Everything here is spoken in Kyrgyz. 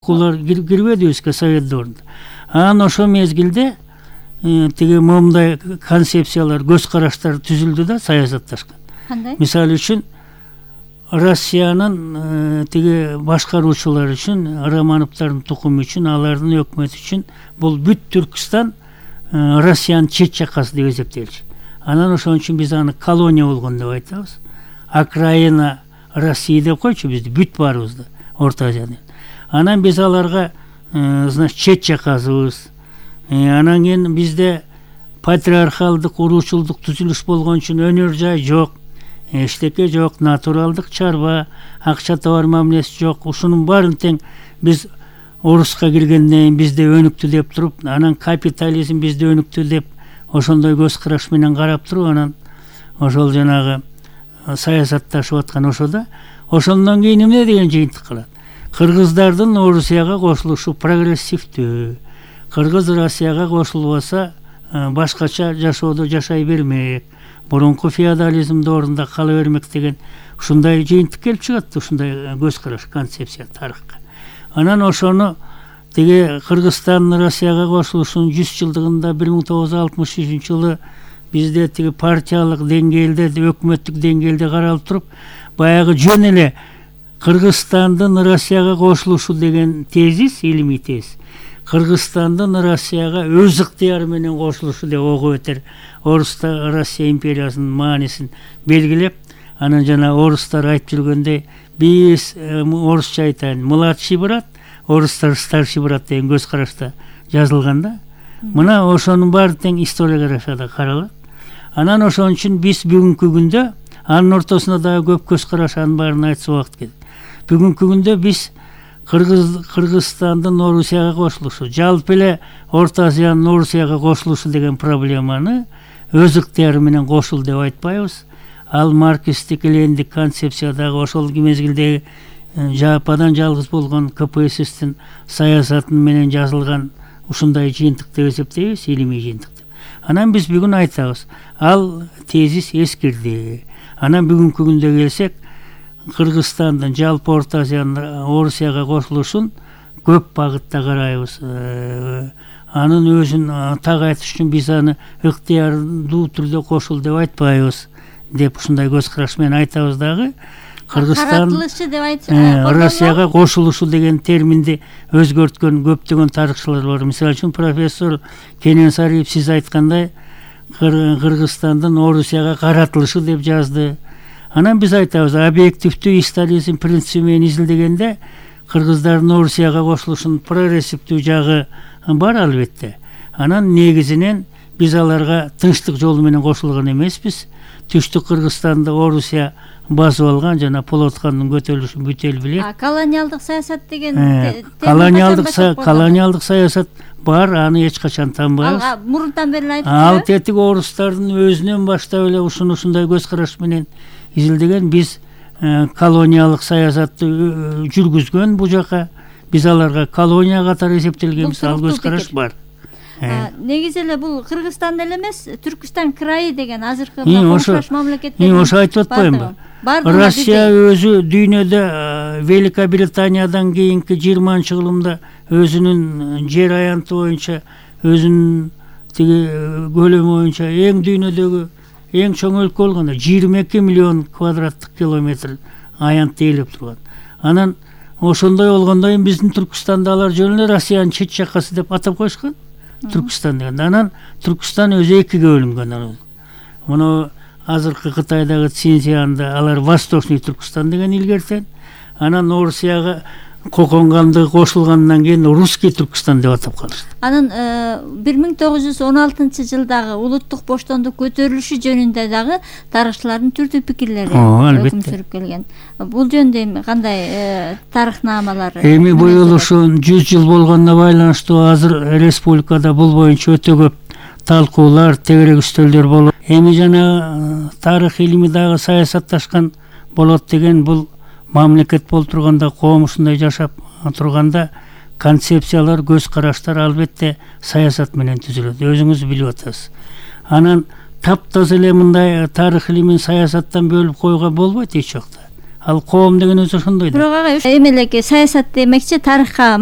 окуулар кирбедибизби совет дöwрүндө. Анан ошо мезгилде тиги момундай концепциялар, көз караштар түзүлдү да саясатташкан. Кандай? Мисалы үчүн Россиянын тиги башкаруучулары үчүн, Романовдордун тукуму үчүн, алардын өкмөтү үчүн бул бүт Түркстан Россиянын чет жакасы деп эсептелчү. Анан ошон үчүн биз аны колония болгон деп айтабыз. Окраина Россия деп койчу бизди, бүт баарыбызды, Орто Азияны. Анан биз аларга значит чет жакасыбыз. Анан кийин бизде патриархалдык, уруучулдук түзүлүш болгон үчүн өнөр жай жок, эчтеке жок, натуралдык чарба, акча товар мамилеси жок. Ушунун баарын тең биз Орусска киргенден бизде өнүктү деп туруп, анан капитализм бизде өнүктү деп ошондой көз караш менен карап туруп, анан ошол жанагы саясатташып аткан ошода. Ошондон кийин эмне деген жыйынтык кылат? Кыргыздардын Орусияга кошулушу прогрессивдүү. Кыргыз Россияга кошулбаса башкача жашоодо жашай бермек. Мурунку феодализмдин ордунда кала бермек деген ушундай жыйынтык келип чыгат, ушундай көз караш, концепция тарыхка. Анан ошону тиги Кыргызстан Россияга кошулушунун 100 жылдыгында 1963 жылы бизде тиги партиялык деңгээлде, өкмөттүк деңгээлде каралып туруп, баягы жөн эле Кыргызстандын Россияга кошулушу деген тезис, илимий тезис, Кыргызстандын Россияга өз ыктыяры менен кошулушу деп ого бетер Орусста Россия империясынын маанисин белгилеп, анан жана орустар айтып жүргөндөй, биз орусча айтайын, младший брат, орустар старший брат деген көз карашта жазылган да. Мына ошонун баары тең историографияда каралат. Анан ошон үчүн биз бүгүнкү күндө анын ортосунда дагы көп көз караш, анын баарын айтса убакыт кетет. Бүгүнкү күндө биз Кыргызстандын Орусияга кошулушу, жалпы эле Орто Азиянын Орусияга кошулушу деген проблеманы өз ыктыяры менен кошул деп айтпайбыз. Ал марксисттик, лениндик концепциядагы ошол мезгилдеги жападан жалгыз болгон КПССтин саясатын менен жазылган ушундай жыйынтык деп эсептейбиз, илимий жыйынтык деп. Анан биз бүгүн айтабыз, ал тезис эскирди. Анан бүгүнкү күндө келсек, Кыргызстандын жалпы Орто Азиянын Орусияга кошулушун көп багытта карайбыз. Анын өзүн так айтыш үчүн биз аны ыктыярдуу түрдө кошул деп айтпайбыз деп ушундай көз караш менен айтабыз дагы. Кыргызстан Россияга кошулушу деген терминди өзгөрткөн көптөгөн тарыхчылар бар. Мисалы үчүн профессор Кенен Сариев сиз айткандай Кыргызстандын Орусияга каратылышы деп жазды. Анан биз айтабыз, объективдүү историзм принципи менен изилдегенде кыргыздардын Орусияга кошулушунун прогрессивдүү жагы бар албетте. Анан негизинен биз аларга тынчтык жолу менен кошулган эмеспиз. Түштүк Кыргызстанды Орусия басып алган, жана Полоткандын көтөрүлүшүн бүт эл билет. Колониалдык саясат деген колониалдык саясат бар, аны эч качан танбайбыз. Мурунтан бери айтып ал тетиги орустардын өзүнөн баштап эле ушундай көз караш менен изилдеген. Биз колониялык саясатты жүргүзгөн бу жака, биз аларга колония катары эсептелгенбиз, ал көз караш бар. Негизи эле бул Кыргызстан эле эмес, Түркүстан крайы деген азыркы коңшаш мамлекеттер. Ошо айтып атпаймынбы? Россия өзү дүйнөдө Великобританиядан кийинки 20-жылымда өзүнүн жер аянты боюнча, өзүнүн тиги көлөмү боюнча эң дүйнөдөгү эң чоң өлкө болгон, 22 миллион квадраттык километр аянтты ээлеп турган. Анан ошондой болгондон кийин биздин Түркүстанды алар жөн эле Россиянын чет жакасы деп атап коюшкан. Түркүстан деген. Анан Түркүстан өзү экиге бөлүнгөн. Муну азыркы Кытайдагы Цинцзянда алар Восточный Түркүстан деген илгертен, анан Орусияга коконгандыгы кошулгандан кийин Русский Түркүстан деп атап калышты. Анан 1916-жылдагы улуттук боштондук көтөрүлүшү жөнүндө дагы тарыхчылардын түрдүү пикирлери өкүм сүрүп келген. Бул жөнүндө кандай тарыхнамалар? Эми быйыл ушу 100 жыл болгонуна байланыштуу азыр республикада бул боюнча өтө көп талкуулар, тегерек үстөлдөр болуп, эми жана тарых илими дагы саясатташкан болот деген, бул мамлекет болуп турганда, коом ушундай жашап турганда концепциялар, көз караштар албетте саясат менен түзүлөт. Өзүңүз билип атасыз. Анан таптаза эле мындай тарых илимин саясаттан бөлүп коюуга болбойт эч жакта. Ал коом деген өзү ошондой да. Бирок ага эми эле саясат демекчи тарыхка